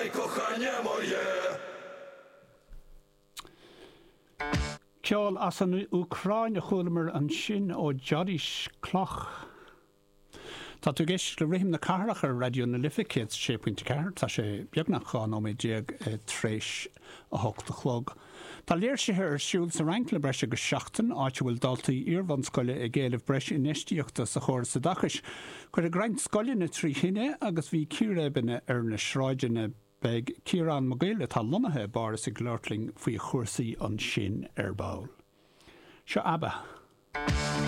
Прощай, кохання моє. Ceol as an Úcráin a chualamar ansin ó Jody Shklok. Tá tú ag éisteacht le Rithim na Cathrach ar Raidió na Life 106.4. Tá sé beagnach 12 nóiméad tar éis 8 a chlog. Tá léirsithe ar siúl sa Fhrainc le breis agus seachtain, áit a bhfuil daltaí iarbhunscoile ag éileamh breis infheistíochta sa chóras oideachais. Cuireadh roinnt scoileanna trí thine agus bhí círéibeanna ar na sráideanna. Beidh Ciarán Mac Goill, atá lonnaithe i bPáras, ag labhairt linn faoi chúrsaí ansin ar ball. Seo ABBA.